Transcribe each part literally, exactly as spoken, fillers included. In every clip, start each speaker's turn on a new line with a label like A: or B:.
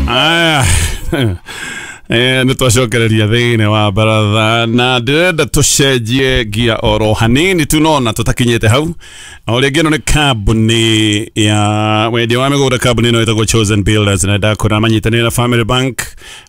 A: Aya. Eh, nä twacokereria thä wa baratha na ndĩrenda tũcenjie ngia oro hanini tu no na tũtakinyĩte hau. O rĩngĩ ĩno nĩ kambuni ya wendia wa mĩgũnda, kambuni ĩno ĩtagwo Chosen Builders, na ndakora manyitanĩire na Family Bank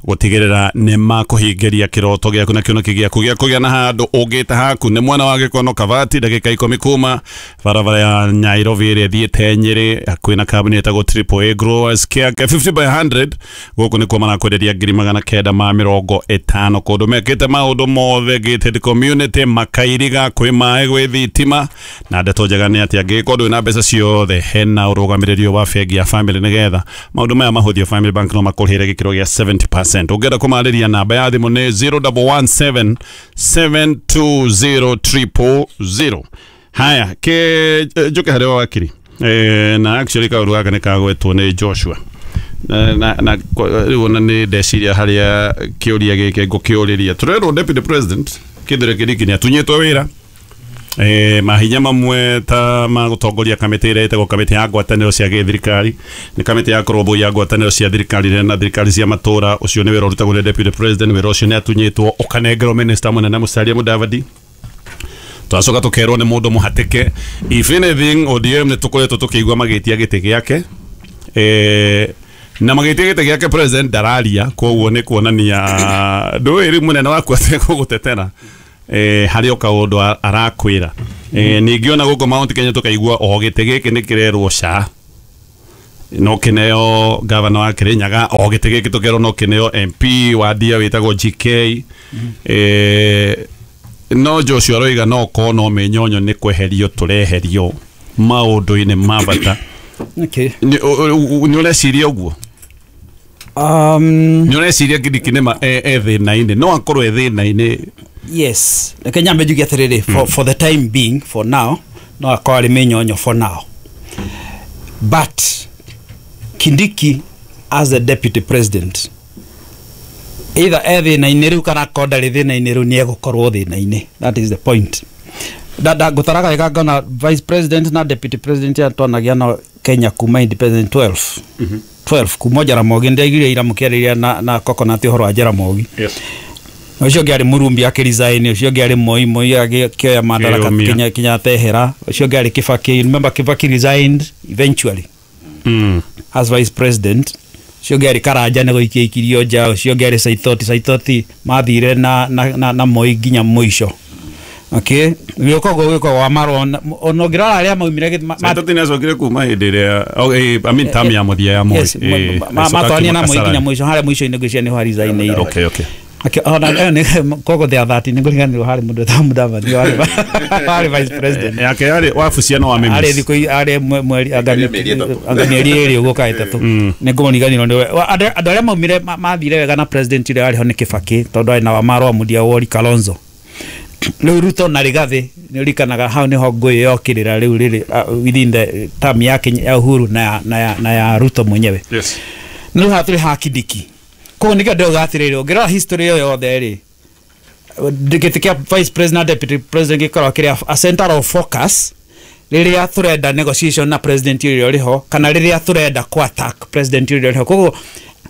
A: gũtigĩrĩra nĩ makũhingĩria kĩroto gĩaku na kĩoneki gĩaku gĩa kũgĩa na handũ ũngĩta haku. Nĩ mwena wa Gĩkono Kabati, ndagĩka ikũmi kuma barabara ya Nairobi ĩrĩa ĩthiĩte Nyĩrĩ, hakuhĩ na kambuni ĩtagwo Triple A Growers Care fifty by hundred. Gũkũ nĩkuo marakwenderia ngiri magana kenda ma mĩrongo ĩtano, kũndũ mekĩte maũndũ mothe gated community, makairiga, kwĩ maĩ, gwĩ thitima. Na ndeto njega nĩ atĩ angĩkorwo ndũrĩ na mbeca ciothe, hena ũrũgamĩrĩri wa bengi ya Family nĩgetha maũndũ maya mahũthio. Family Bank no makũrĩhĩre gĩkĩro gĩa seventy percent. Ũngĩenda kũmarĩria, namba ya thimũ nĩ zero one one seven seven two zero zero zero. Haya, ke njuke harĩ wakiri eh, na actually kaũndũ gaka nĩ kagwetwo nĩ Joshua na na na rĩu ona nĩ ndeciria harĩa kĩũria gĩkĩ ngũkĩũrĩria. Tũrerwo Deputy President Kithure Kindiki nĩ atunyĩtwo wĩra, eh, mahinya mamwe ta ma gũtongoria kamĩtĩ ĩrĩa ĩtagwo kamĩtĩ ya ngwatanĩro cia gĩthirikari, nĩ kamĩtĩ ya kũrũmbũiya ngwatanĩro cia thirikari na thirikari cia matũra. Ũcio nĩ wĩra ũrutagwo nĩ Deputy President. Wĩra ũcio nĩ atunyĩtwo, ũkanengerwo minister mũnene Musalia Mudavadi. Twacoka tũkerwo nĩ mũndũ mũhatĩke. If anything, O D M nĩ tũkoretwo tũkĩigua magĩtia gĩtĩ gĩake, eh, na magĩtia gĩtĩ gĩake president ndararia, koguo nĩ kuonania ndũĩ rĩu mũnene waku ategũgũtetera, eh, harĩ o kaũndũ arakwĩra. eh, ningĩ ona gũkũ Mount Kenya tũkaigua o gĩtĩ gĩkĩ nĩ kĩrerwo ca no kĩneo gavana wa Kirinyaga, o gĩtĩ gĩkĩ tũkerwo no kĩneo M P wa Ndia wĩtagwo G K. eh, no Joshua aroiga no korwo no mĩnyonyo nĩ kweherio tũreherio maũndũ-inĩ ma bata.
B: Okay.
A: Nĩ nĩ ũreciria ũguo?
B: Um,
A: Nĩ ũreciria Kindiki nĩma e e thĩna-inĩ, no akorwo e thĩna-inĩ?
B: Yes. Reke nyambe njuge atĩrĩrĩ, for, for the time being, for now, no akorwo arĩ mĩnyonyo for now. But Kindiki as the deputy president, either e thĩna-inĩ rĩu kana akorwo ndarĩ thĩna-inĩ rĩu, nĩ egũkorwo thĩna-inĩ. That is the point. Da, da, ngũtaraga wega ngona vice president na deputy president ya twanagia no Kenya kuma independent twelve twelve kuma Jaramogi. Ndaiguire ira mũkĩarĩria na, na Coconut ũhoro wa Jaramogi.
A: Yes.
B: Ũcio ũngĩ arĩ Murumbi akĩresign, ũcio ũngĩ arĩ Moi, Moi akĩoya madaraka.
A: Kĩyũmia.
B: Kinya Kenyatta ehera, ũcio ũngĩ arĩ Kibaki. Remember Kibaki resigned eventually
A: mm.
B: as vice president. Ũcio ũngĩ arĩ Karanja, nĩ gũikia ikirio nja. Ũcio ũngĩ arĩ Saitoti. Saitoti mathire na, na, na, na Moi nginya mũico. Okay, gĩũka ũguo gwĩka wa marwo ona ũngĩrora arĩa maumire gĩ- ma- ma-
A: Saitoti nĩ acokire kuma hĩndĩ ĩrĩa, oh, eh, I mean term ya mũthia ya Moi.
B: Yes,
A: Eh,
B: ma- ma-
A: agĩcoka
B: matwarania na
A: akiuma
B: Moi nginya
A: Kasarani.
B: mũico harĩa mũico-inĩ, ngwĩciria nĩho arisainĩire.
A: okay okay
B: Akĩ- ona ĩyo nĩ koguo there thirty nĩ ngũriganĩrwo harĩ mũndũ wĩtagwo Mudavadi warĩ warĩ vice president.
A: Yake yarĩ wabucia no wa
B: arĩ
A: Mimis.
B: thikũ i- arĩ mwe- mweri anga
C: Mĩeri ĩtatũ.
B: anga mĩeri ĩrĩ ũguo kana ĩtatũ, nĩ ngũmũriganĩrwo nĩwe. Wa- andũ andũ arĩa maumire ma- mathire wega na president ũrĩa warĩ ho nĩ Kibaki, tondũ arĩ na Wamarwa, Mudia Wori, Kalonzo. Rĩu Ruto na Rigathĩ, nĩ ũririkanaga hau nĩho ngũĩ yokĩrĩra rĩu rĩrĩ uh, within the term ya Kenya, ya Uhuru na ya, na ya, na ya Ruto mwenyewe.
A: Yes.
B: Nĩ haha tũrĩ ha Kindiki, koguo nĩkĩo ndĩrauga atĩrĩrĩ, ũngĩrora history ĩyo yothe rĩ, gĩtĩ kĩa vice president na deputy president gĩkoragwo kĩrĩ a center of focus rĩrĩa tũrenda negotiation na president ũrĩa ũrĩ ho, kana rĩrĩa tũrenda kũ attack president ũrĩa ũrĩ ho. Koguo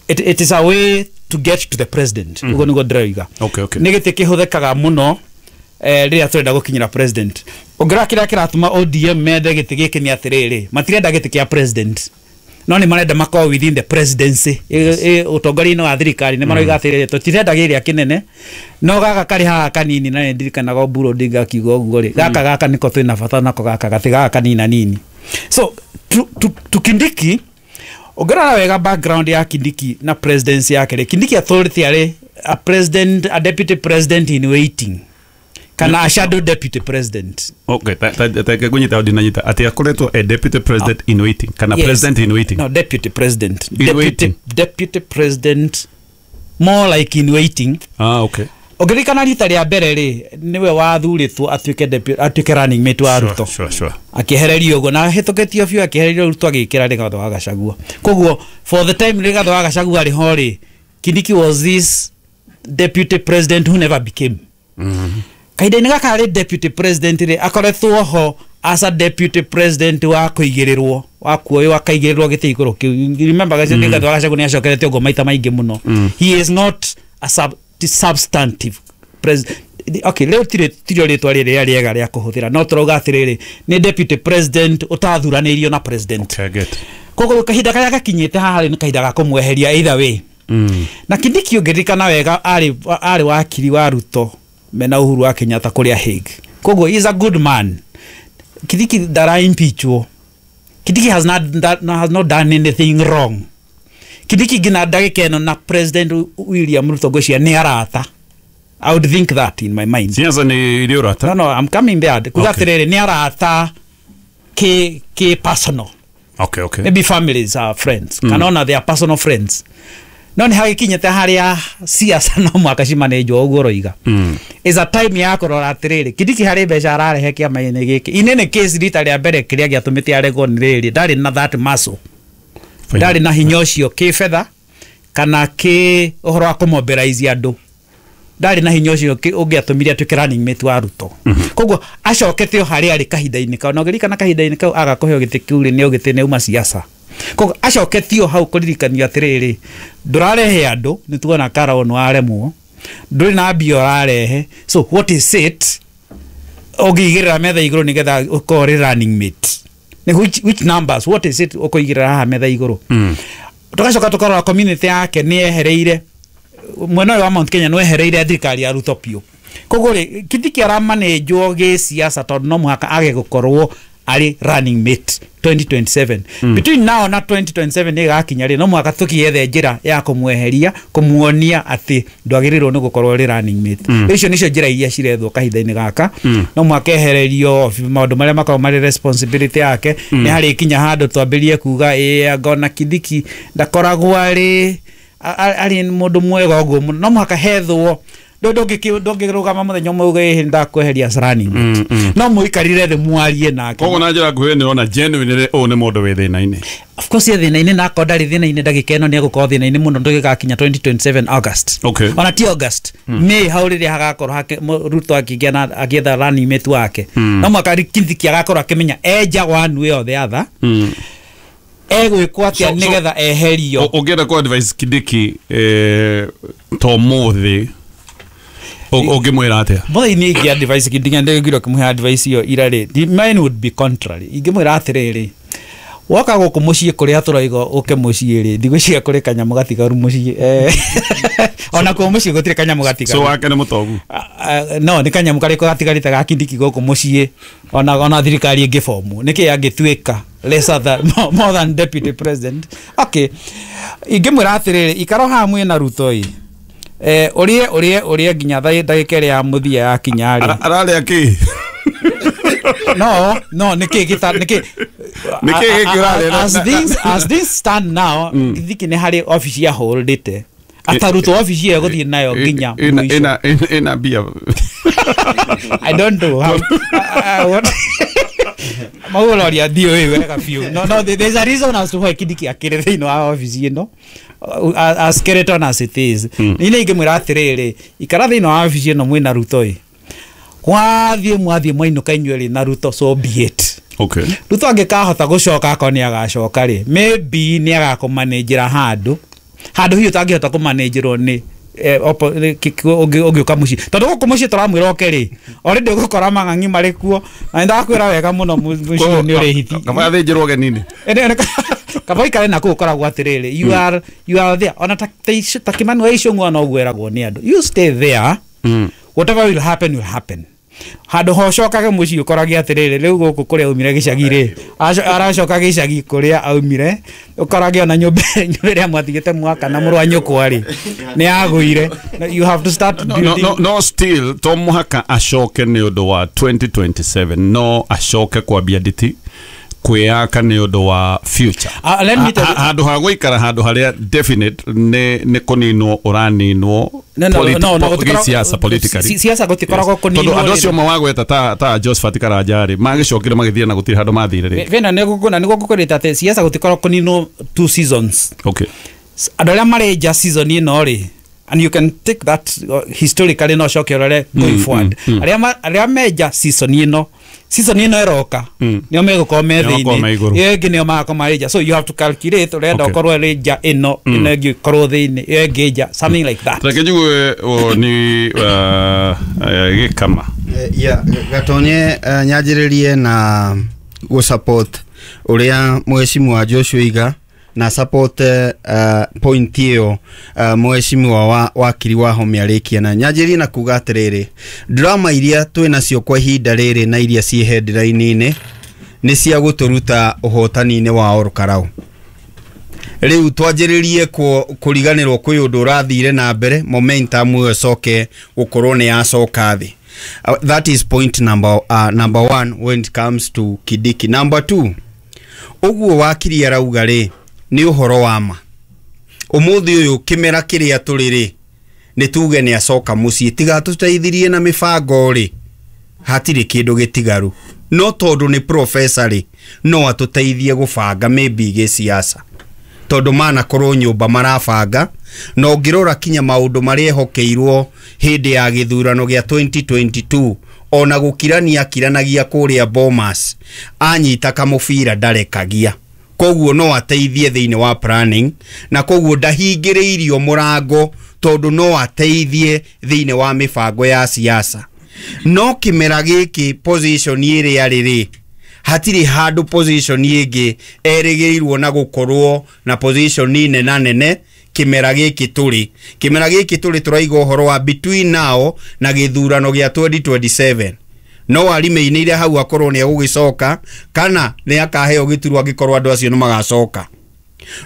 B: it, it is a way to get to the president. Ũguo nĩguo ndĩroiga.
A: Okay, okay.
B: Nĩ gĩtĩ kĩhũthĩkaga mũno eh, rĩrĩa tũrenda gũkinyĩra president. Ũngĩrora kĩrĩa kĩratũma O D M mende gĩtĩ gĩkĩ nĩ atĩrĩrĩ, matirenda gĩtĩ kĩa president, no nĩ marenda makorwo within the presidency, yes. Ũtongoria-inĩ wa thirikari. Nĩ maroiga atĩrĩrĩ, tũtirenda gĩrĩa kĩnene, no gaka karĩ haha kanini. Na nĩ ndirikanaga Oburu Odinga akiuga ũguo rĩ, gaka gaka nĩko twĩna bata nako, gaka gatĩ gaka kanina nini. So to, to, to Kindiki, ũngĩrora wega background ya Kindiki na presidency yake rĩ, Kindiki atũrĩte arĩ a president, a deputy president in waiting, kana a shadow deputy president.
A: Okay, ta ta ta kunyita ndinanyita atĩ akoretwo a deputy president in waiting kana
B: Yes.
A: president in waiting?
B: No, deputy president.
A: In
B: Deputy,
A: waiting.
B: deputy president, more like in waiting.
A: Ah, okay.
B: Ũngĩririkana rita rĩa mbere rĩ, nĩwe wathurĩtwo atuĩke deputy, atuĩke running mate wa
A: Sure,
B: Ruto.
A: sure sure
B: Akĩehererio ũguo na hĩtũkĩtio biũ, akĩehererio Ruto, agĩkĩra Rigathĩ wa Gachagua. Koguo for the time Rigathĩ wa Gachagua arĩ ho rĩ, Kindiki was this deputy president who never became. Kahinda-inĩ gaka arĩ deputy president rĩ, akoretwo ho. as a deputy president wa kuigirirwo wa kuoywo akaigĩrĩrwo gĩtĩ igũrũ kĩu. Remember mm. Rigathi wa Gachagua nĩ acokerete ũguo maita maingĩ mũno. mm. He is not a sub, substantive president. Okay, leo tire tirio rĩtwa rĩrĩa rĩega rĩa kũhũthĩra, no tũrauga atĩrĩrĩ, nĩ deputy president ũtathuranĩirio na president.
A: Okay, get.
B: Koguo kahinda karĩa gakinyĩte haha rĩ nĩ kahinda ga kũmweheria either way.
A: Mm.
B: Na Kindiki ũngĩririkana wega arĩ arĩ wakiri wa Ruto mena Uhuru wa Kenyatta kũrĩa Hague. Koguo he is a good man. Kindiki ndara impeachwo. Kindiki has not that, has not done anything wrong. Kindiki nginya ndagĩka ĩno na President William Ruto ngwĩciria nĩ arata. I would think that in my mind.
A: Siasa nĩ irĩ ũrata?
B: No, no, I'm coming there. Kuga
A: Okay.
B: atĩrĩrĩ, nĩ arata ke ke personal.
A: Okay, okay.
B: Maybe families are friends. Mm. Kana ona they are personal friends. No nĩ hagĩkinyĩte harĩa siasa no mwaka cimanenjwo ũguo ũroiga.
A: Mm.
B: Is a time ya kũrora atĩrĩrĩ, Kindiki harĩ mbeca ararehe kĩama-inĩ gĩkĩ. In any case rita rĩa mbere kĩrĩa gĩatũmĩte aregwo nĩ rĩrĩ, ndarĩ na that muscle. Ndarĩ na hinya ũcio kĩbetha kana kĩ ũhoro wa kũmobilize andũ. Ndarĩ na hinya ũcio ũngĩatũmire atuĩke running mate wa Ruto. Koguo acokete o harĩa arĩ kahinda-inĩ kau, na ũngĩririkana kahinda-inĩ kau aga kũheo gĩtĩ kĩu rĩ, nĩ ũgĩtĩ nĩ uma siasa. Koguo acoketio hau kũririkania atĩrĩrĩ, ndũrarehe andũ, nĩ tuona Karao nĩ waremwo, ndũrĩ na mbia ũrarehe, so what is it ũngĩigĩrĩra metha igũrũ nĩgetha ũkorwo ũrĩ running mate? Nĩ which, which numbers, what is it ũkũigĩrĩra haha metha igũrũ?
A: Mm.
B: Tũgacoka tũkarora community yake nĩ yehereire mwena ũyũ wa Mount Kenya nĩ wehereire thirikari ya Ruto biũ. Koguo rĩ, Kindiki aramanenjwo gĩsiasa tondũ no mũhaka age gũkorwo arĩ running mate twenty twenty-seven.
A: Mm.
B: Between now na twenty twenty-seven nĩ ĩgakinya rĩ, no mũhaka tũkĩethe njĩra ya kũmweheria, kũmuonia atĩ ndwagĩrĩirwo nĩ gũkorwo ũrĩ running mate.
A: Mm.
B: Icio nĩcio njĩra iria cirethwo kahinda-inĩ gaka.
A: Mm.
B: No mũhaka ehererio maũndũ marĩa makoragwo marĩ responsibility yake.
A: Mm.
B: Nĩ harĩkinya handũ twambĩrĩrie kuga ĩ anga ona Kindiki ndakoragwo arĩ arĩ mũndũ mwega ũguo mũno. No mũhaka hethwo ndũngĩrũgama mũthenya ũmwe uge ĩhĩ ndakweheria as running mate.
A: Mm, mm.
B: No mũikarire thĩ mwarie nake.
A: Koguo na njĩra nguhĩ nĩ ũrona genuinely ũyũ nĩ mũndũ wĩ thĩna-inĩ.
B: Of course ye thĩna-inĩ, na akorwo ndarĩ thĩna-inĩ ndagĩka ĩno nĩ egũkorwo thĩna-inĩ mũno ndũgĩgakinya twenty twenty-seven August.
A: Okay.
B: Ona ti August, May hau rĩrĩa hagakorwo hake Ruto akĩgĩa na agĩetha running mate wake.
A: Mm.
B: No mũhaka Kindiki agakorwo akĩmenya enja one way or the other.
A: Mm.
B: Egwĩkwo atĩa
A: So- so-
B: nĩgetha eherio.
A: Ũngĩenda kũ advise Kindiki eh, to mũthĩ ũngĩmwĩra atĩa?
B: Mũthĩ niĩ ingĩ advice Kindiki ndĩgĩrwo kĩmũhe advice ĩyo ira rĩ, mine would be contrary. Ingĩmwĩra atĩrĩrĩ, woka gũkũ mũciĩ kũrĩa tũraiga ũke mũciĩ rĩ, ndigwĩciria kũrĩ kanyamũ gatigaru mũciĩ. Eh, ona kuo mũciĩ gũtirĩ kanyamũ gatigaru.
A: So wake nĩ mũtongu?
B: No, nĩ kanyamũ karĩkũ gatigarĩte ga Kindiki gũkũ mũciĩ, ona ona thirikari ĩngĩbomwo nĩkĩ angĩtuĩka lesser than, more, more than deputy president. Okay, ingĩmwĩra atĩrĩrĩ, ikara haha mwĩna Ruto ĩ, eh, ũrĩe ũrĩe ũrĩe nginya ndagĩka ĩrĩa ya mũthia yakinya rĩ.
A: Ararĩa kĩ?
B: No, no, nĩkĩ gĩta nĩkĩ
A: Nĩkĩ gĩkĩ ũrarĩa?
B: As things as things stand now, Kindiki nĩ harĩ office ya holdĩte. Atarutwo office ĩyo gũthiĩ nayo nginya mũico.
A: Ĩna ĩna mbia.
B: I don't know how. What? Maũroria ndiũĩ wega biũ. No, no, there's a reason as to why Kindiki akĩrĩ thĩinĩ wa office ĩno. As skeleton as it is. Niĩ nĩ ingĩmwĩra atĩrĩrĩ, ikara thĩinĩ wa office ĩno mwĩna Ruto ĩ. Mwathiĩ mwathiĩ mwainũka inyuĩ rĩ na Ruto, so be it.
A: Okay.
B: Ruto angĩkahota gũcoka akorwo nĩ agacoka rĩ, maybe nĩ agakũmanĩnjĩra handũ handũ hihi ũtangĩhota kũmanĩnjĩrwo nĩ ũngĩũka mũciĩ, tondũ gũkũ mũciĩ tũramwĩra oke rĩ, already ũgũkora mang'ang'i marĩ kuo, na nĩndakwĩra wega mũno mũciĩ nĩ ũrĩ hiti.
A: Kaba athĩnjĩrwo ũgeni-inĩ.
B: Kaba ũikare na kũu ũkoragwo atĩrĩrĩ, you are you are there. Ona ta ta Kimani wa Ichung'wa no ũguo eragwo nĩ andũ, you stay there. Whatever will happen will happen. Handũ ho ũcokage mũciĩ ũkorage atĩrĩrĩ, rĩu gũkũ kũrĩa aumire gĩcagi rĩ, aracoka gĩcagi kũrĩa aumire, ũkorage ona nyũmba ĩrĩa mwatigĩte mwaka na mũrũ wa nyũkwa rĩ, nĩ yagũire. You have to start
A: No,
B: building.
A: no, no, still to mũhaka acoke nĩ ũndũ wa twenty twenty-seven, no acoke kwambia nditi kwĩyaka nĩ ũndũ wa future.
B: Uh, let me tell you,
A: handũ ha gũikara handũ harĩa definite nĩ nĩ kũninwo ũraninwo.
B: No, no, no, no,
A: gĩsiasa politically.
B: Siasa gũtikoragwo kũninwo.
A: Tondũ andũ acio mawagweta ta ta Josephat Karanja rĩ, magĩcokire magĩthiĩ na gũtirĩ handũ mathire rĩ.
B: Vena nĩ gũkũna nĩ gũkũrĩta atĩ siasa gũtikoragwo kũninwo two seasons.
A: Okay.
B: Andũ arĩa marĩ nja season ĩno rĩ, And you can take that uh, historically, no coke ũrore going forward, arĩa ma- arĩa menja season ĩno, season ĩno ĩroka, nĩo megũkorwo me
A: Nĩo makorwo me
B: thĩinĩ,
A: igũrũ.
B: ĩyo ĩngĩ nĩo magakorwo marĩ nja. So you have to calculate, ũrenda
A: Okay.
B: ũkorwo ĩrĩ nja ĩno, ĩno ĩngĩ ĩkorwo thĩinĩ, ĩyo ĩngĩ nja, something like that.
A: Reke njigue o ni uh, eh, gĩkama.
C: Eh, ya gatonye, uh, nyanjĩrĩrie na gũ support ũrĩa mheshimiwa Joshua iga na support uh, point ĩyo uh, mheshimiwa wa wakiri wa Home arĩkia, na nyanjĩrĩrie na kuga atĩrĩrĩ, drama iria twĩ nacio kwa ihinda rĩrĩ na iria ciĩ headline-inĩ nĩ cia gũtũruta ũhotani-inĩ wa Ol Kalou. Rĩu twanjĩrĩrie kũriganĩrwo kwĩ ũndũ ũrathire na mbere, momentum ĩyo ĩcoke gũkorwo nĩ yacoka thĩ. Uh, that is point number, uh, number one when it comes to Kindiki. Number two, ũguo wakiri arauga rĩ, nĩ ũhoro wa ma. Ũmũthĩ ũyũ kĩmera kĩrĩa tũrĩ rĩ, nĩ tuge nĩ acoka mũciĩ, tiga tũteithirie na mĩbango rĩ, hatirĩ kĩndũ gĩtigaru. No tondũ nĩ professor rĩ, no atũteithie gũbanga maybe gĩsiasa, tondũ manakorwo nyũmba marabanga, na ũngĩrora kinya maũndũ marĩa ehokeirwo hĩndĩ ya gĩthurano gĩa twenty twenty-two, ona gũkirania akiranagia kũrĩa Bomas, anyita kamũbira ndarekagia. Koguo no ateithie thĩinĩ wa planning, na koguo ndahingĩrĩirio mũrango, tondũ no ateithie thĩinĩ wa mĩbango ya siasa. No kĩmera gĩkĩ, position ĩrĩa rĩ, hatirĩ handũ position ĩngĩ erĩgĩrĩirwo na gũkorwo na position nena nene kĩmera gĩkĩ tũrĩ. Kĩmera gĩkĩ tũrĩ, tũraiga ũhoro wa between now na gĩthurano gĩa twenty twenty-seven, no arimĩinĩire hau, akorwo nĩ egũgĩcoka kana nĩ akaheo gĩturwa angĩkorwo andũ acio nĩ magacoka.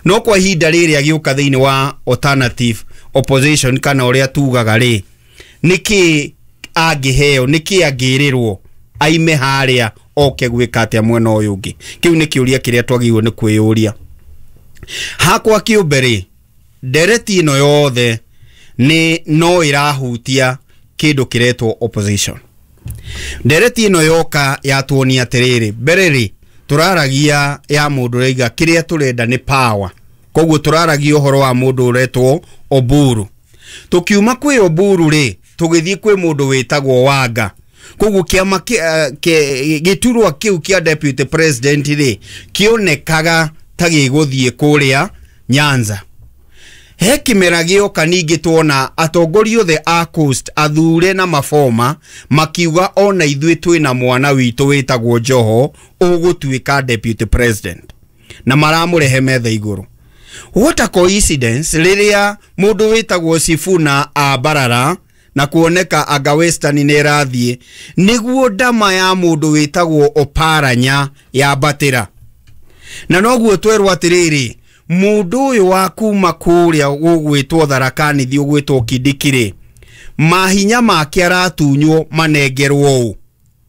C: No kwa ihinda rĩrĩ agĩũka thĩinĩ wa alternative opposition, kana ũrĩa tugaga rĩ, nĩkĩ angĩheo, nĩkĩ angĩrĩrwo aime harĩa oke gwĩka atĩa mwena ũyũ ũngĩ? Kĩu nĩ kĩũria kĩrĩa twagĩrĩirwo nĩ kwĩyũria. Hakwa kĩũmbe rĩ, ndereti ĩno yothe nĩ no ĩrahutia kĩndũ kĩretwo opposition. Ndereti ĩno yoka yatuonia atĩrĩrĩ, mbere rĩ, tũraragia ya mũndũ ũraiga kĩrĩa tũrenda nĩ power, koguo tũraragia ũhoro wa mũndũ ũretwo Oburu. Tũkiuma kwĩ Oburu rĩ, tũgĩthiĩ kwĩ mũndũ wĩtagwo Wanga. Koguo kĩama gĩturwa kĩu kĩa deputy president rĩ, kĩonekaga ta gĩgũthiĩ kũrĩa Nyanza. He kĩmera gĩoka ningĩ tuona atongoria othe a Coast, athure na maboma, makiuga ona ithuĩ twĩna mwana witũ wĩtagwo Joho ũgũtuĩka deputy president, na maramũrehe metha igũrũ. What a coincidence, rĩrĩa mũndũ wĩtagwo Sifuna ambarara na kuoneka anga Western nĩ ĩrathiĩ, nĩguo ndama ya mũndũ wĩtagwo Oparanya yambatĩra. Na noguo twerwo atĩrĩrĩ, mũndũ ũyũ wa kuma kũrĩa gũgwĩtwo Tharaka Nithi, ũgwĩtwo Kindiki rĩ, mahinya make aratunywo manengerwo ũ?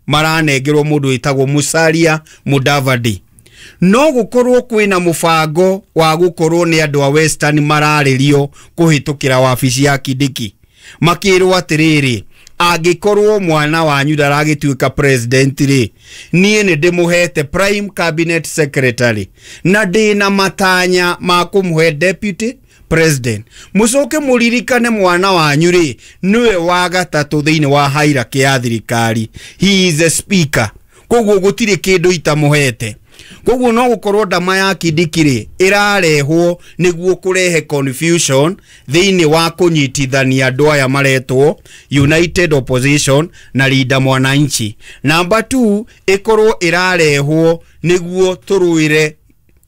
C: Maranengerwo mũndũ wĩtagwo Musalia Mudavadi. No gũkorwo kwĩna mũbango wa gũkorwo nĩ andũ a Western mararĩrio kũhĩtũkĩra wabici ya Kindiki, makĩrwo atĩrĩrĩ, angĩkorwo mwana wanyu ndaragĩtuĩka president rĩ, niĩ nĩ ndĩmũhete prime cabinet secretary na ndĩna matanya ma kũmũhe deputy president. Mũcoke mũririkane mwana wanyu rĩ, nĩwe wa gatatũ thĩinĩ wa hierarchy ya thirikari, he is a speaker, koguo gũtirĩ kĩndũ itamũhete. Koguo no gũkorwo ndama ya Kindiki rĩ, ĩrarehwo nĩguo kũrehe confusion thĩinĩ wa kũnyitithania andũ aya maretwo United Opposition na Linda Mwananchi. Number two, ĩkorwo ĩrarehwo nĩguo tũrũĩre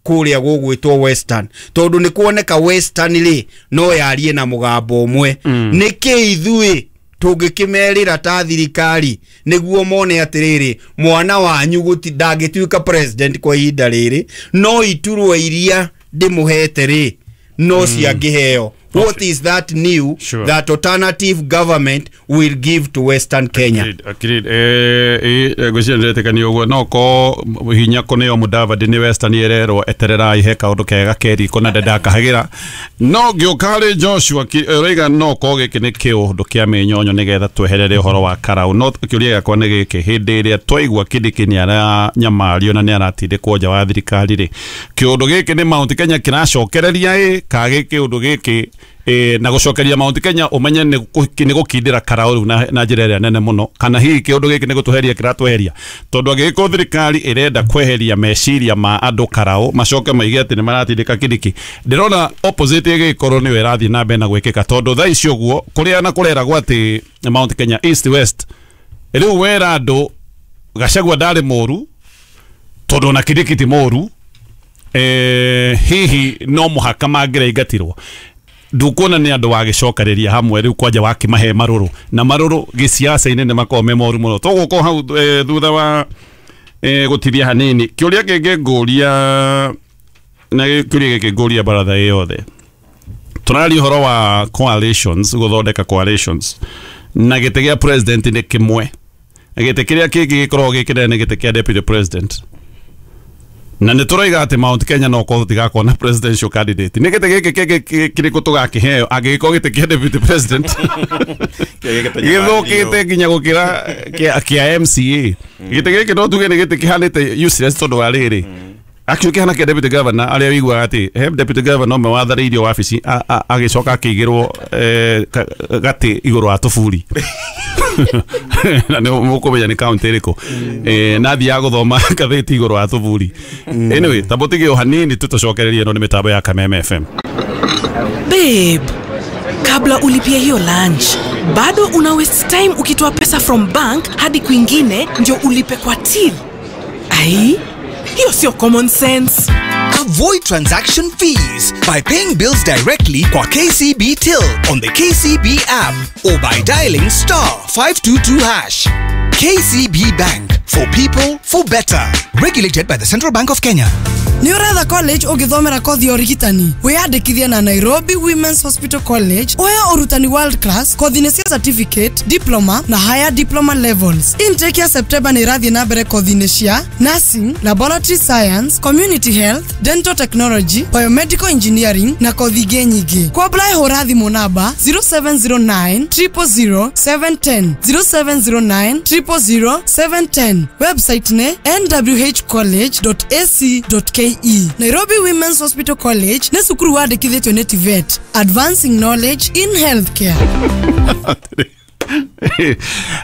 C: kũrĩa gũgwĩtwo Western, tondũ nĩ kuoneka Western rĩ, no yarie na mũgambo ũmwe mm. Nĩkĩ ithuĩ tũngĩkĩmerĩra ta thirikari nĩguo mone atĩrĩrĩ, mwana wanyu gũti ndangĩtuĩka president kwa ihinda rĩrĩ, no iturwa iria ndĩmũhete rĩ, no mm. ciangĩheo? What is that new
A: Sure.
C: that alternative government will give to Western Kenya?
A: Agreed, agreed. Eh, eh, ngwĩciria nĩndĩretĩkania ũguo, no ko hinya kũneo Mudavadi nĩ Western ĩrerwo etererai, he kaũndũ kega keriko na ndendakahagĩra. No ngĩũka harĩ Joshua, ki- ũraiga no ko gĩkĩ nĩ kĩũndũ kĩa mĩnyonyo nĩgetha tweherere ũhoro wa Karau. No kĩũria gĩakwa nĩ gĩkĩ, hĩndĩ ĩrĩa twaigua Kindiki nĩ aranyamario na nĩ aratindĩkwo nja wa thirikari rĩ, kĩũndũ gĩkĩ nĩ Mount Kenya kĩracokereria ĩ ka gĩ kĩũndũ gĩkĩ e, na gucokeria Mount Kenya umenye ni gukindira karau riu na, na njira ĩrĩa nene muno kana hihi kiundu giki ni gutuheria kiratweheria tondu angĩgĩkorwo thirikari ĩrenda kweheria meciria ma andũ karau macoke maige atĩ nĩ maratindĩka Kindiki ndĩrona opposite ĩgĩkorwo nĩyo ĩrathiĩ na mbere na gwĩkĩka tondu thaa ici ũguo kũrĩa na kũreragwo atĩ Mount Kenya East West rĩu wera andũ Gachagua ndarĩ mũru tondu ona Kindiki ti mũru eh, hihi no mũhaka mangĩraingatirwo ndukuona nĩ andũ wagĩcokereria hamwe rĩu kwanja wakĩmahe marũrũ na marũrũ gĩciaca-inĩ nĩ makoragwo me moru mũno tũgũkorwo hau e, thutha wa e, gũtithia hanini kĩũria kĩngĩ ngũria na kĩũria gĩkĩ ngũria baratha ĩ yothe tũraria ũhoro wa coalitions gũthondeka coalitions na gĩtĩ gĩa president nĩ kĩmwe gĩtĩ kĩrĩa kĩngĩ gĩkoragwo gĩ kĩnene nĩ gĩtĩ kĩa deputy president na nĩ tũroiga atĩ Mount Kenya no korwo tũtigakorwo na presidential candidate nĩ gĩtĩ gĩkĩ kĩngĩ kĩrĩkũ tũgakĩheo angĩgĩkorwo gĩtĩ kĩa deputy president gĩthũkĩte nginya gũkĩra kĩa M C A gĩtĩ gĩkĩ no tuge nĩ gĩtĩ kĩhanĩte useless tondũ wa rĩrĩ actually kĩhana kĩa deputy governor arĩa ũiguaga atĩ he deputy governor ũmwe watharĩirio wabici agĩcoka akĩigĩrwo gatĩ igũrũ wa tũburi na nĩ mũkũmenya nĩ kaunti ĩrĩkũ eh, na athiaga gũthoma ngathĩti igũrũ wa tũburi anyway ta mũtige o hanini tũtũcokererie ĩno nĩ mĩtambo ya Kameme F M.
D: Babe, kabla ulipie hiyo lunch bado una waste time ukitoa pesa from bank hadi kwingine ndio ulipe kwa till. Ai, hiyo sio common sense.
E: Avoid transaction fees by paying bills directly kwa K C B Till on the K C B app or by dialing star five two two hash. K C B Bank, for people, for better. Regulated by the Central Bank of Kenya.
F: Nĩ ũretha college ũngĩthomera kothi ya ũrigitani wĩyandĩkithie na Nairobi Women's Hospital College ũheo ũrutani world class kothi-inĩ cia certificate, diploma na higher diploma levels. Intake ya September nĩ ĩrathiĩ na mbere kothi-inĩ cia nursing, laboratory science, community health, dental technology, biomedical engineering na kothi ingĩ nyingĩ. Kwa apply hũra thimũ namba zero seven zero nine triple zero seven ten zero seven zero nine triple zero seven ten. Website nĩ n w h college dot a c dot k e. Nairobi Women's Hospital College nĩ cukuru wandĩkithĩtio nĩ T V E T, advancing knowledge in healthcare.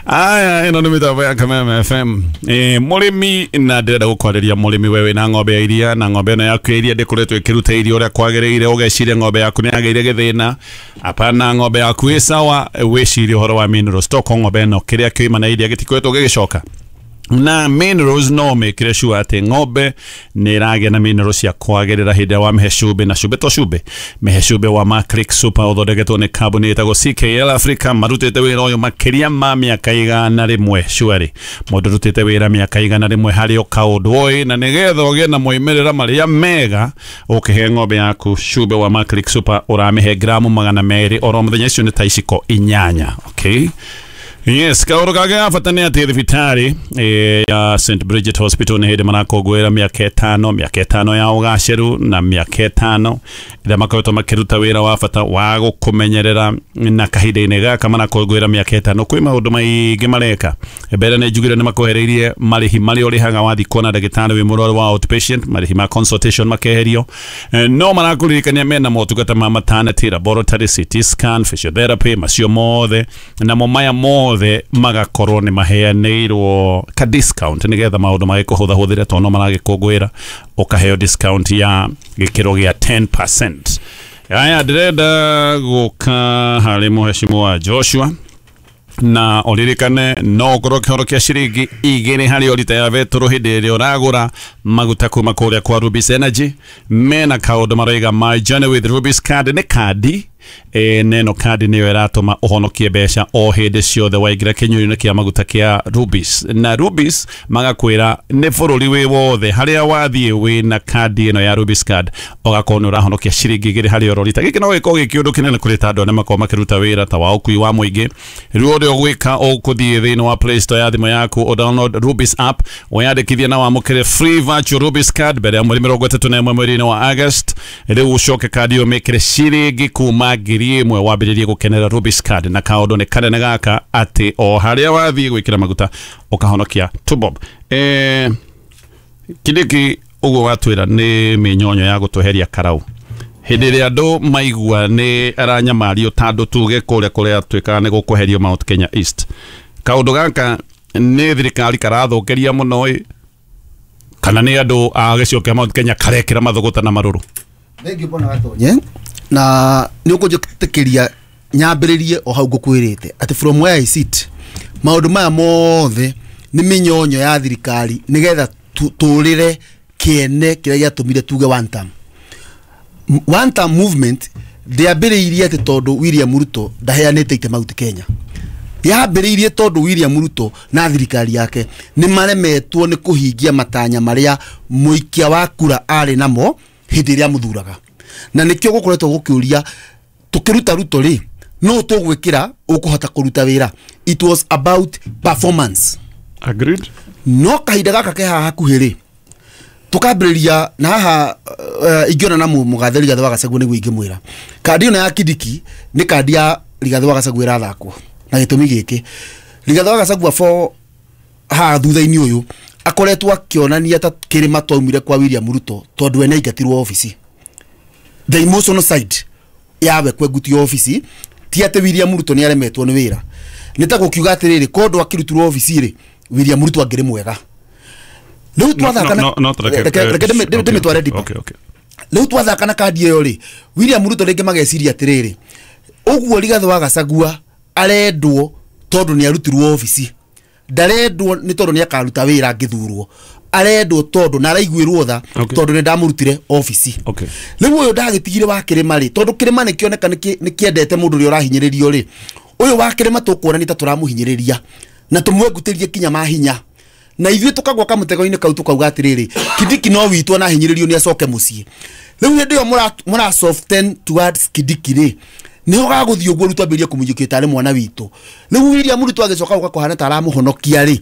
A: Aya ĩno nĩ mĩtambo ya Kameme F M. Eh, mũrĩmi na ndĩrenda gũkwarĩria mũrĩmi we wĩna ng'ombe ya iria na ng'ombe ĩno yaku ya iria ndĩkoretwo ĩkĩruta iria ũrĩa kwagĩrĩire ũgeciria ng'ombe yaku nĩ yagĩire gĩthĩna apana ng'ombe yaku ĩ sawa wĩcirie ũhoro wa mineral stock ng'ombe ĩno kĩrĩa kĩoima na iria gĩtikoretwo gĩgĩcoka na minerals no mekire sure atĩ ng'ombe nĩ ĩragĩa na minerals cia kwagĩrĩra hĩndĩ ĩrĩa wamĩhe cumbĩ na cumbĩ to cumbĩ mĩhe cumbĩ wa Macric Super ũthondeketwo nĩ kambuni ĩtagwo C K L Africa marutĩte wĩra ũyũ makĩria ma mĩaka igana rĩmwe surely mũndũ ũrutĩte wĩra mĩaka igana rĩmwe harĩ o kaũndũ oĩ na nĩgetha ũgĩe na moimĩrĩra marĩa mega ũkĩhe ng'ombe yaku cumbĩ wa Macric Super ũramĩhe gramu magana merĩ oro mũthenya icio nĩ ta iciko inyanya okay. Yes, kaũndũ kangĩ ga bata nĩ atĩ thibitarĩ ya Saint Bridget Hospital nĩ hĩndĩ marakũngũĩra mĩaka ĩtano mĩaka ĩtano ya ũgacĩru na mĩaka ĩtano ĩrĩa makoretwo makĩruta wĩra wa bata wa gũkũmenyerera na kahinda-inĩ gaka marakũngũĩra mĩaka ĩtano kwĩ maũndũ maingĩ mareka mbere nĩ njugire nĩ makwehereirie marĩhi marĩa ũrĩhaga wathiĩ kuona ndagĩtarĩ wĩ mũrwaru wa outpatient marĩhi ma consultation makeherio no marakũririkania mena motungata ma maternity laboratory C T scan physiotherapy macio mothe namo maya mothe magakorwo nĩ maheanĩirwo ka discount nĩgetha maũndũ magĩkũhũthahũthĩre tondũ no maragĩkũngũĩra ũkaheo discount ya gĩkĩro gĩa ten percent. Aya ndĩrenda gũka harĩ mũheshimiwa Joshua na ũririkane no ũkorwo kĩhoro kĩa ciringi igĩrĩ harĩ o rita ya betũrũ hĩndĩ ĩrĩa ũragũra maguta kuma kũrĩa kwa Rubis Energy mena kaũndũ maroiga my journey with Rubis card nĩ kandi e, neno kandi nĩyo ĩratũma ũhonokie mbeca o hĩndĩ ciothe waingĩra kĩnyuĩro-inĩ kĩa maguta kĩa Rubis na Rubis magakwĩra nĩ bũrũri wĩ wothe harĩa wathiĩ wĩna kandi ĩno ya Rubis card ũgakorwo nĩ ũrahonokia ciringi igĩrĩ harĩ oro rita gĩkĩ no gĩkorwo gĩ kĩũndũ kĩnene kũrĩ ta andũ arĩa makoragwo makĩruta wĩra ta wa ũkui wa mũingĩ rĩu ũrĩa ũgwĩka ũkũthiĩ thĩinĩ wa Play Store ya thimũ yaku ũ download Rubis app wĩyandĩkithie na wamũkĩre free virtual Rubis card mbere ya mweri mĩrongo ĩtatũ na ĩmwe mweri-inĩ wa August rĩu ũcoke kandi ĩyo mĩkĩre ciringi kuma ngiri ĩmwe wambĩrĩrie gũkenera Rubis card na kaũndũ nĩ kanene gaka atĩ o harĩa wathiĩ gwĩkĩra maguta ũkahonokia two bob. Eh, Kindiki ũguo watwĩra nĩ mĩnyonyo ya gũtweheria karau Hĩndĩ ĩrĩa andũ maigua nĩ aranyamario ta andũ tuge kũrĩa kũrĩa tuĩkaga nĩ gũkweherio Mount Kenya East. Kaũndũ gaka nĩ thirikari karathũkĩria mũno ĩ kana nĩ andũ a gĩcigo kĩa Mount Kenya karekĩra mathũgũta na marũrũ.
G: Thengiũ bwana Gatonye, na nĩ ũkũnjĩtĩkĩria nyambĩrĩrie o hau ngũkwĩrĩte atĩ from where I sit maũndũ maya mothe nĩ mĩnyonyo ya thirikari nĩgetha tũrĩre kĩene kĩrĩa gĩatũmire tuge one term. One term movement ndĩambĩrĩirie atĩ tondũ William Ruto ndaheanĩte ite Mount Kenya. Yambĩrĩirie tondũ William Ruto na thirikari yake nĩ maremetwo nĩ kũhingia matanya marĩa mũikia wa kura arĩ namo hĩndĩ ĩrĩa mũthuraga. Na nĩkĩo gũkoretwo gũkĩũria tũkĩruta Ruto rĩ no tũgwĩkĩra ũkũhota kũruta wĩra. It was about performance.
A: Agreed.
G: No kahinda gaka ke haha hakuhĩ rĩ tukambĩrĩria na haha uh, ingĩona na mũgathe Rigathĩ wa Gachagua nĩguo ingĩmwĩra kandi ĩno ya Kindiki nĩ kandi ya Rigathĩ wa Gachagua ĩrathakwo na gĩtũmi gĩkĩ Rigathĩ wa Gachagua for haha thutha-inĩ ũyũ akoretwo akĩonania ta kĩrĩma twaumire kwa William Ruto tondũ we nĩaingatirwo obici. The emotional side yawe kwengutio obici ti atĩ William Ruto nĩaremetwo nĩ wĩra nĩ ta gũkiuga atĩrĩrĩ kondo akĩrutirwo obici rĩ William Ruto angĩrĩ mwega. Rĩu twathaka na reke ndĩmĩtware deeper. Rĩu twathaka na kandi ĩyo rĩ William Ruto rĩngĩ mageciria atĩrĩrĩ ũguo Rigathĩ wa Gachagua arendwo tondũ nĩarutirwo obici ndarendwo nĩ tondũ nĩakaruta wĩra angĩthurwo arendwo tondũ na araiguĩrwo tha tondũ nĩ ndamũrutire obici. Rĩu ũyũ ndagĩtigire wa kĩrĩma rĩ tondũ kĩrĩma nĩkĩoneka nĩkĩendete mũndũ ũrĩa ũrahinyĩrĩrio rĩ ũyũ wa kĩrĩma tũkuona nĩ ta tũramũhinyĩrĩria na tũmwengutĩrie kinya mahinya na ithuĩ tũkagwa kamũtego-inĩ kau tũkauga atĩrĩrĩ Kindiki no witũ na hinyĩrĩrio nĩ acoke mũciĩ. Rĩu hĩndĩ ĩyo mũra soften towards Kindiki rĩ nĩho gagũthiĩ ũguo rĩu twambĩrĩrie kũmũiyũkia tarĩ mwana witũ. Rĩu William Ruto agĩcoka gũka kũhana ta aramũhonokia rĩ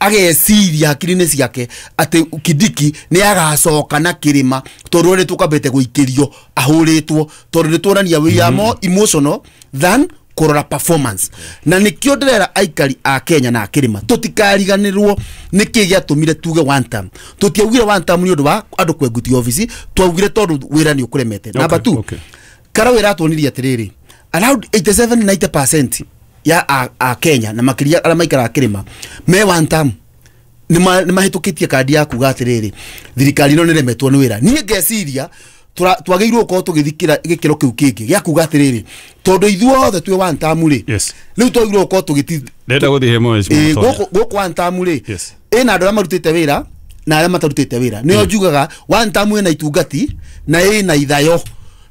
G: ageciria hakiri-inĩ ciake atĩ Kindiki nĩ agacoka na kĩrĩma tondũ nĩ tũkambĩte gũikĩrio ahũrĩtwo tondũ nĩ tuonania we are more emotional than kũrora performance. Na nĩkĩo ndĩrera aikari a Kenya na kĩrĩma tũtikariganĩrwo nĩkĩ gĩatũmire tuge one term. Tũtiaugire one term nĩ ũndũ wa andũ kwengutio obici twaugire tondũ wĩra nĩ ũkũremete. Number two, Karau ĩratuonirie atĩrĩrĩ around eighty-seven ninety percent ya a, a Kenya na makĩria arĩa maikaraga kĩrĩma me one term nĩ mahĩtũkĩtie kandi ya kuga atĩrĩrĩ thirikari ĩno nĩremetwo nĩ wĩra. Niĩ ngeciria twagĩrĩirwo gũkorwo tũgĩthikĩra gĩkĩro kĩu kĩngĩ gĩa kuga atĩrĩrĩ tondũ ithuothe twĩ one term rĩ rĩu twagĩrĩirwo gũkorwo tũgĩti
A: ndĩrenda gũthiĩ he
G: gũkũ gũkũ one term rĩ ĩna andũ arĩa marutĩte wĩra na arĩa matarutĩte wĩra nĩo njugaga one term ĩna itungati na ĩna ithayo.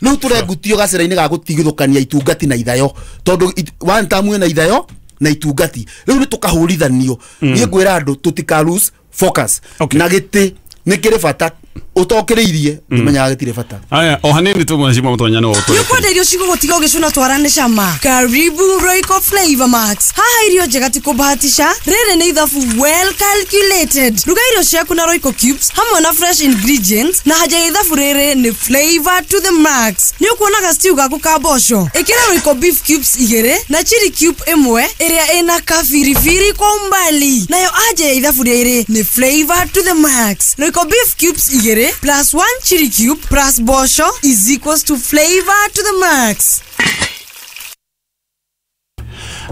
G: Rĩu tũrengutio gacĩra-inĩ ga gũtigithũkania itungati na ithayo tondũ one term ĩna ithayo na itungati rĩu nĩ tũkahũrithanio. Niĩ ngwĩra andũ tũtika lose focus na gĩtĩ nĩ kĩrĩ bata utokĩrĩirie ndimenyaga gĩtirĩ bata.
A: Aya o hanini tu mheshimiwa Mutonya nĩ ũgũtũrĩkia.
F: Nĩũkwenda irio cigũgũtiga ũgĩcũna twarane cama. Karibu Royco Flavor Max. Haha irio njega ti kũbahatisha rĩrĩ nĩ ithabu well calculated. Ruga irio ciaku na Royco cubes hamwe na fresh ingredients na haja ya ithabu rĩrĩ nĩ flavor to the max. Nĩ ũkuonaga stew gaku ka mboco ĩkĩra Royco beef cubes igĩrĩ na chili cube ĩmwe ĩrĩa ĩna kabiribiri kwa umbali nayo haja ya ithabu rĩrĩ nĩ flavor to the max. Royco beef cubes igĩrĩ plus one chili cube plus bosho is equals to flavor to the max.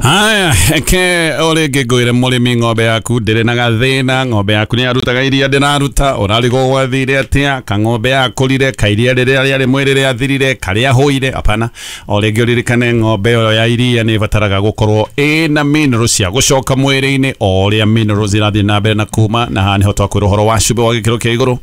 A: Haya, ke ore ngĩngũĩre mũrĩmi ng'ombe yaku ndĩrĩ na gathĩna ng'ombe yaku nĩ yarutaga iria ndĩraruta ũrarigwo gwathire atĩa ka ng'ombe yakũrire ka iria rĩrĩa rĩarĩ mwĩrĩ rĩathirire karĩa hũire apana. O rĩngĩ ũririkane ng'ombe ĩyo ya iria nĩ ĩbataraga gũkorwo ĩna minerals cia gũcoka mwĩrĩ-inĩ o ũrĩa minerals irathiĩ na mbere na kuma na haha nĩho twakwĩra ũhoro wa cumbĩ wa gĩkĩro kĩa igũrũ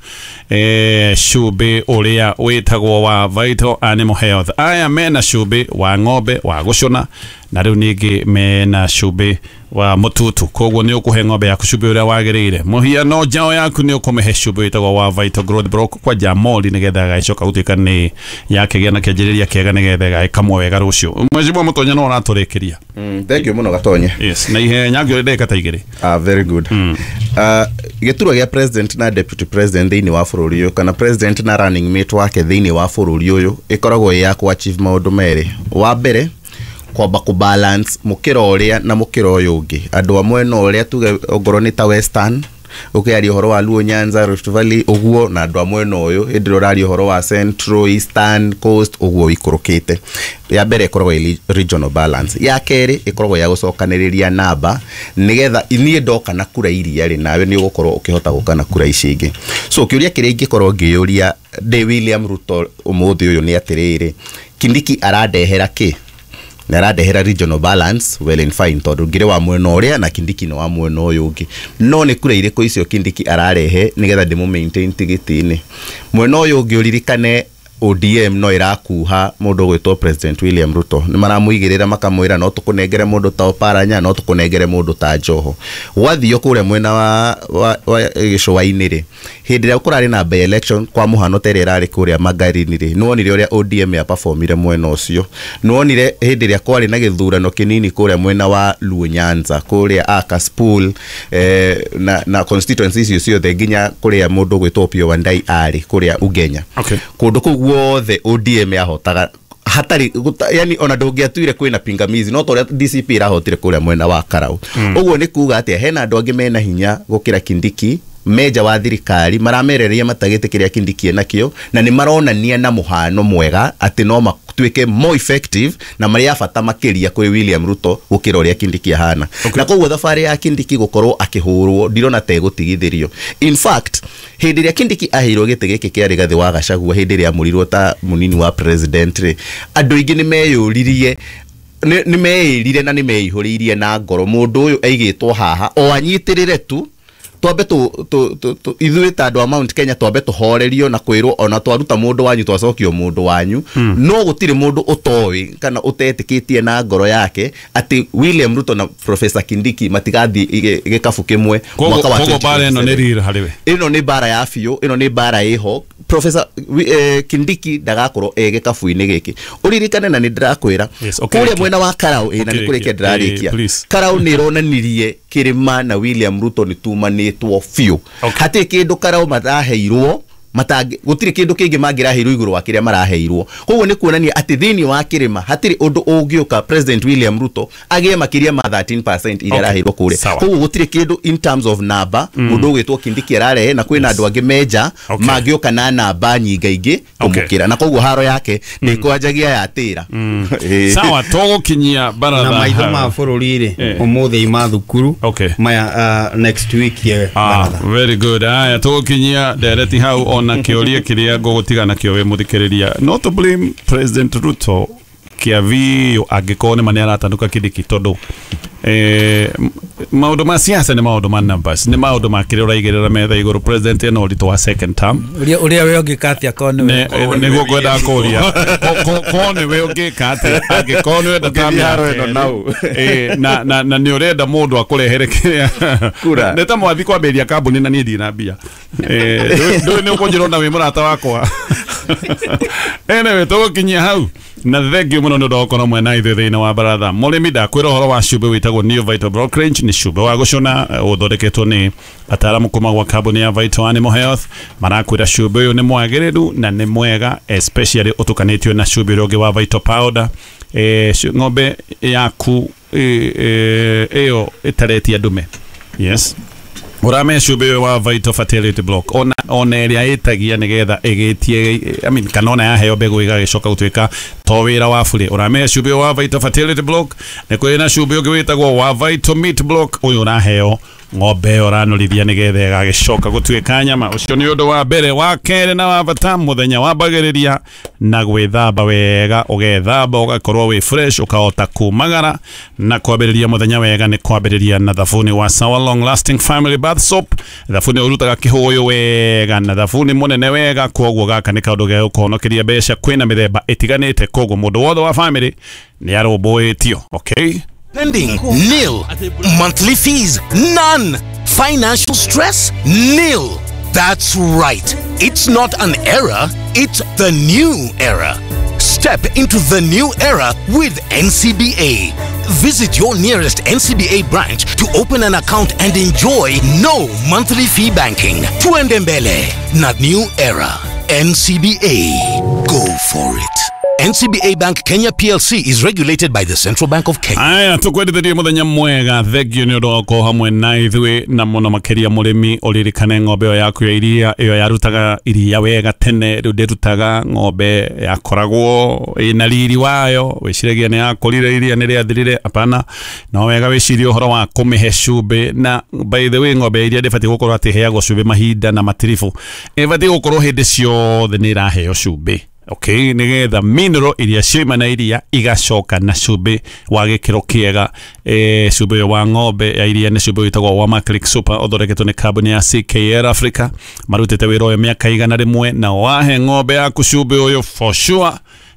A: eh cumbĩ ũrĩa wĩtagwo wa Vital Animal Health. Aya mena cumbĩ wa ng'ombe wa gũcũna na rĩu ningĩ mena cumbĩ wa mũtutu koguo nĩ ũkũhe ng'ombe yaku cumbĩ ũrĩa wagĩrĩire. Mũhiano njaũ yaku nĩ ũkũmĩhe cumbĩ wĩtagwo wa Vital Growth Block kwa Jamoli nĩgetha ĩgagĩcoka gũtuĩka nĩ yakĩgĩa na kĩanjĩrĩria kĩega nĩgetha ĩgagĩkamwo wega rũciũ. Mheshimiwa Mutonya no ũratũrĩkĩria.
H: Mm, thank you mũno Gatonye.
A: Yes, na ihenya ngĩũria ndagĩka ta igĩrĩ.
H: Ah, very good. Mm. Uh, gĩturwa gĩa president na deputy president thĩinĩ wa bũrũri ũyũ kana president na running mate wake thĩinĩ wa bũrũri ũyũ ĩkoragwo ĩ ya kũ achieve maũndũ merĩ. Wa mbere kwamba ku balance mukira uria na mukira uyu ungi andu amwe no uria tuge ongorwo ni ta western Ũkĩaria ũhoro wa Luo Nyanza, Rift Valley ũguo, na andũ a mwena ũyũ hĩndĩ ĩrĩa ũraria ũhoro wa Central, Eastern, Coast ũguo ikũrũkĩte. Ya mbere ĩkoragwo ĩ regional balance, ya kerĩ ĩkoragwo ya gũcokanĩrĩria namba nĩgetha niĩ ndoka na kura iria rĩ, nawe nĩ ũgũkorwo ũkĩhota gũka na kura ici ingĩ. So kĩũria kĩrĩa ingĩkorwo ngĩyũria ndĩ William Ruto ũmũthĩ ũyũ nĩ atĩrĩrĩ, Kindiki arandehera kĩ? Na arandehera regional balance, well and fine, tondũ ngĩrĩ wa mwena ũrĩa na Kindiki nĩ wa mwena ũyũ ũngĩ, no nĩ kura irĩkũ icio Kindiki ararehe nĩgetha ndĩmũ maintain tigiti-inĩ? Mwena ũyũ ũngĩ ũririkane O D M no ĩrakuha mũndũ ũgwĩtwo President William Ruto, nĩ maramũigĩrĩra makamwĩra no tũkũnengere mũndũ ta Oparanya, no tũkũnengere mũndũ ta Joho. Gwathio kũrĩa mwena wa, wa, wa gĩcũa-inĩ rĩ, hĩndĩ ĩrĩa kũrarĩ na by election kwa mũhano ta ĩrĩa ĩrarĩ kũrĩa Magarini rĩ, nĩwonire ũrĩa O D M ya performire mwena ũcio. Nĩwonire hĩndĩ ĩrĩa kwarĩ na gĩthurano kĩnini kũrĩa mwena wa Luo Nyanza, kũrĩa Akaspool, eh, na, na constituency icio ciothe nginya kũrĩa mũndũ ũgwĩtwo Opiyo Wandayi arĩ kũrĩa Ugenya.
A: Okay.
H: Kũndũ kũu guothe O D M yahotaga hatarĩ, yani ona ndũngĩatuire kwĩna pingamizi, no ta ũrĩa D C P ĩrahotire kũrĩa mwena wa Karau. Ũguo nĩ kuga atĩa, hena andũ angĩ mena hinya gũkĩra Kindiki meja wa thirikari maramereria matagĩte kĩrĩa Kindiki enakĩo, na nĩ maronania na mũhano mwega atĩ no matuĩke more effective na marĩ a bata makĩria kwĩ William Ruto gũkĩra ũrĩa Kindiki ahana.
A: Okay.
H: Na koguo thabarĩ ya Kindiki gũkorwo akĩhũrwo ndirona ta ĩgũtigithĩrio. In fact, hĩndĩ ĩrĩa Kindiki aheirwo gĩtĩ gĩkĩ kĩa Rigathĩ wa Gachagua hĩndĩ ĩrĩa amũrirwo ta mũnini wa president rĩ, andũ aingĩ nĩ meyũririe, nĩ meĩrire na nĩ meihũrĩirie na ngoro mũndũ ũyũ aigĩtwo haha o anyitĩrĩre tu, twambe tu tu ithuĩ ta andũ a Mount Kenya twambe tũhorerio na kwĩrwo ona twaruta mũndũ wanyu twacokio mũndũ wanyu. No gũtirĩ mũndũ ũtoĩ kana ũtetĩkĩtie na ngoro yake atĩ William Ruto na Professor Kindiki matigathiĩ gĩkabu kĩmwe mwaka wa
A: Koguo bara ĩno nĩ real harĩ we.
H: Ĩno nĩ bara ya biũ, ĩno nĩ bara ĩho. Professor eh, Kindiki ndagakorwo e gĩkabu-inĩ gĩkĩ. Ũririkane na nĩ ndĩrakwĩra kũrĩa mwena wa Karau, ĩ na nĩ kũrĩkia ndĩrarĩkia. Karau nĩ ĩronanirie kĩrĩma na William Ruto nĩ tumanĩtwo biũ. Hatirĩ kĩndũ Karau maraheirwo, matangi gũtirĩ kĩndũ kĩngĩ mangĩraheirwo igũrũ wa kĩrĩa maraheirwo. Koguo nĩ kuonania atĩ thĩinĩ wa kĩrĩma hatirĩ ũndũ ũngĩũka President William Ruto agĩe makĩria ma thirteen percent iria araheirwo kũrĩa. Koguo gũtirĩ kĩndũ in terms of number mũndũ ũgwĩtwo Kindiki ararehe, na kwĩna andũ angĩ meja mangĩũka na namba nyingaingĩ kũmũkĩra, na koguo haro yake nĩ kwanjagia yatĩra.
A: Sawa, tũgũkinyia baratha
C: na maitho ma bũrũri rĩ ũmũthĩ ima thukuru maya next week ye baratha.
A: Very good. Aya, tũgũkinyia ndereti hau ona kĩũria kĩrĩa ngũgũtiga nakĩo wĩ mũthikĩrĩria. Not to blame President Ruto kĩa biũ angĩkorwo nĩ ma nĩ aratanuka Kindiki, tondũ eh, maũndũ ma siasa nĩ maũndũ ma numbers, nĩ maũndũ ma kĩrĩa ũraigĩrĩra metha igũrũ. President ena ũritũ wa second term.
B: Ũrĩa ũrĩa we ũngĩka atĩa korwo nĩwe
A: nĩguo ngwendaga kũria, korwo nĩwe ũngĩka atĩa angĩkorwo nĩ ũrenda term ya kerĩ, na na na nĩ ũrenda mũndũ akũrehere kĩrĩa
H: kura,
A: nĩ ta mwathi kwambĩrĩria kambuni na niĩ ndirĩ na mbia, ndũĩ nĩ ũkũnjĩra ona wĩ mũrata wakwa. Anyway, tũgũkinyia hau na thengiũ mũno nĩ ũndũ wa gũkorwo mwena ithuĩ thĩinĩ wa baratha. Mũrĩmi ndakwĩra ũhoro wa cumbĩ wĩtagwo New Vital Brokerage, nĩ cumbĩ wa gũcũna ũthondeketwo nĩ ataaramu kuma gwa kambuni ya Vital Animal Health. Marakwĩra cumbĩ ũyũ nĩ mwagĩrĩru na nĩ mwega, especially ũtukanĩtio na cumbĩ ũrĩa ũngĩ wa Vital Powder. Eh, ng'ombe yaku ĩyo ĩtaretia ndume, yes, urame cumbĩ wa Vital Fertility Block ona ona ĩrĩa ĩtagia nĩgetha ĩgĩtie, I mean, kana ona yaheo mbegũ ĩgagĩcoka gũtuĩka to wĩra wa bure. Ũrame cumbĩ wa Vital Fertility Block. Nĩ kũrĩ na cumbĩ ũngĩ wĩtagwo wa Vital Meat Block, ũyũ ũraheo ng'ombe ĩyo ũranorithia nĩgetha ĩgagĩcoka gũtuĩka nyama. Ũcio nĩ ũndũ wa mbere. Wa kerĩ na wa bata, mũthenya wambagĩrĩria na gwĩthamba wega, ũgethamba ũgakorwo wĩ fresh, ũkahota kumagara. Na kwambĩrĩria mũthenya wega nĩ kwambĩrĩria na thabuni wa Sawa Long Lasting Family Bath Soap. Thabuni ũrutaga kĩhũyũ wega na thabuni mũnene wega, koguo gaka nĩ kaũndũ ge gũkũhonokeria mbeca. Kwĩna mĩthemba ĩtiganĩte, koguo mũndũ wothe wa family nĩ arũmbũĩtio. Okay.
E: Spending nil. Monthly fees none. Financial stress nil. That's right. It's not an era, it's the new era. Step into the new era with N C B A. Visit your nearest N C B A branch to open an account and enjoy no monthly fee banking. Tuende mbele na new era. N C B A. Go for it.
I: N C B A Bank Kenya P L C is regulated by the Central Bank of Kenya.
A: Aya, tukwendithĩrie mũthenya mwega. Thengiũ nĩ ũndũ wa gũkorwo hamwe na ithuĩ, na mũno makĩria mũrĩmi ũririkane ng'ombe ĩyo yaku ya iria, ĩyo yarutaga iria wega tene, rĩu ndĩrutaga. Ng'ombe yakoragwo ĩna riri wayo, wĩciragia nĩ yakũrire, iria nĩ rĩathirire. Hapana, no wega wĩcirie ũhoro wa kũmĩhe cumbĩ. Na by the way, ng'ombe ya iria ndĩbatiĩ gũkorwo atĩ ĩheagwo cumbĩ mahinda na matiribũ, ĩbatiĩ gũkorwo hĩndĩ ciothe nĩ ĩraheo cumbĩ. Okay, nigetha mineral iria ciuma na iria igacoka na cumbĩ wa gĩkĩro kĩega. E, cumbĩ ũyũ wa ng'ombe ya iria nĩ cumbĩ wĩtagwo wa Maclick Super, ũthondeketwo nĩ kambuni ya C K L Africa. Marutĩte wĩra ũyũ mĩaka igana rĩmwe, na wahe ng'ombe yaku cumbĩ ũyũ for sure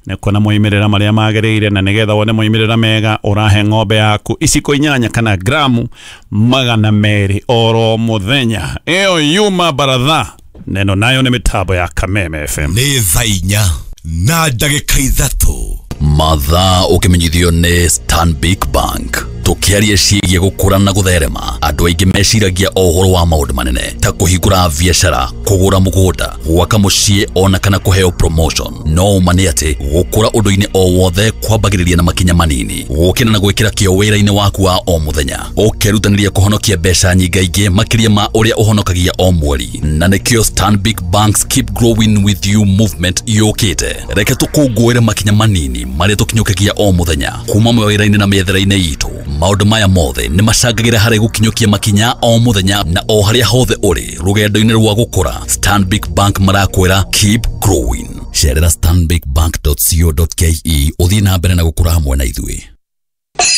A: nĩ kuona moimĩrĩra marĩa magĩrĩire. Na nĩgetha wone moimĩrĩra mega, ũrahe ng'ombe yaku iciko inyanya kana gramu magana merĩ oro mũthenya. Ĩyo yuma baratha neno nayo nĩ mĩtambo ya Kameme F M.
I: Nĩ thaa inya na ndagĩka ithatũ.
J: Mathaa ũkĩmenyithio nĩ Stanbic Bank. Tũkĩaria ciĩgiĩ gũkũra na gũtherema, andũ aingĩ meciragia o ũhoro wa maũndũ manene ta kũhingũra biacara, kũgũra mũgũnda, gwaka mũciĩ ona kana kũheo promotion. No ũma nĩ atĩ gũkũra ũndũ-inĩ o wothe kwambagĩrĩria na makinya manini, gũkĩra na gwĩkĩra kĩo wĩra-inĩ waku wa o mũthenya, ũkerutanĩria kũhonokia mbeca nyingaingĩ makĩria ma ũrĩa ũhonokagia o mweri. Na nĩkĩo Stanbic Bank's Keep Growing With You movement yũkĩte. Reke tũkũngũĩre makinya manini marĩa tũkinyũkagia o mũthenya kuma mawĩra-inĩ na mĩethere-inĩ itũ. Maũndũ maya mothe nĩ macangagĩra harĩ gũkinyũkia makinya o mũthenya na o harĩa hothe ũrĩ rũgendo-inĩ rwa gũkũra. Stanbic Bank marakwĩra keep growing. Cerera stanbic bank dot co dot ke ũthiĩ na mbere na gũkũra hamwe na ithuĩ.